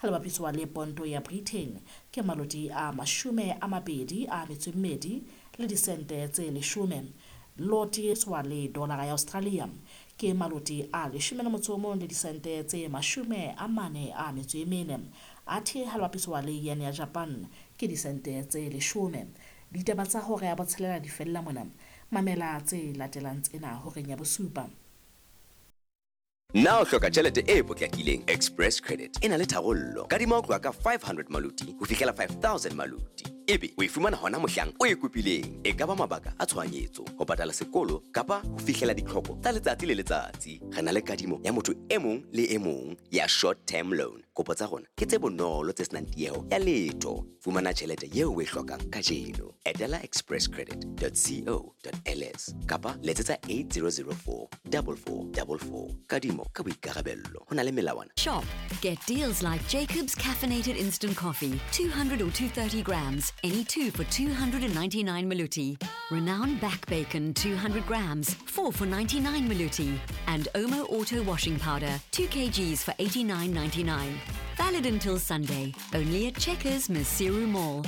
Ha le bapiswa le ponto ya Britain ke maloti a 22 le disente tse 10. Loti tswa le dollara ya Australia ke maloti a 11 le disente tse 44. Athe ha le bapiswa le yen ya Japan ke disente tse 10. Ditaba tsa hora ya botshelela di fella mona. Mamela tse latelang tsena horeng ya bosupa. Na o hloka tjhelete e potlakileng? Express Credit e na le tharollo. Kadima ho tloha ka 500 maluti ho fihlela 5000 maluti. Ebe o e fumana hona mohlang o e kopileng. E ka ba mabaka a tshohanyetso, ho patala sekolo kapa ho fihlela ditlhoko tsa letsatsi le letsatsi. Re na le kadimo ya motho e mong le e mong ya short term loan. Kopo tsa rona ke tse bonolo tse senang tieho ya letho. Fumana tjhelete eo o e hlokang kajeno. Etela expresscredit.co.ls kapa letsetsa 8004 4444. Kadimo ka boikarabello. Ho na le melawana. Shop. Get deals like Jacob's Caffeinated Instant Coffee, 200 or 230 grams, any two for 299 maluti. Renown Back Bacon, 200 grams, 4 for 99 maluti. And Omo Auto Washing Powder, 2 kgs for 89.99. Valid until Sunday, only at Checkers Maseru Mall.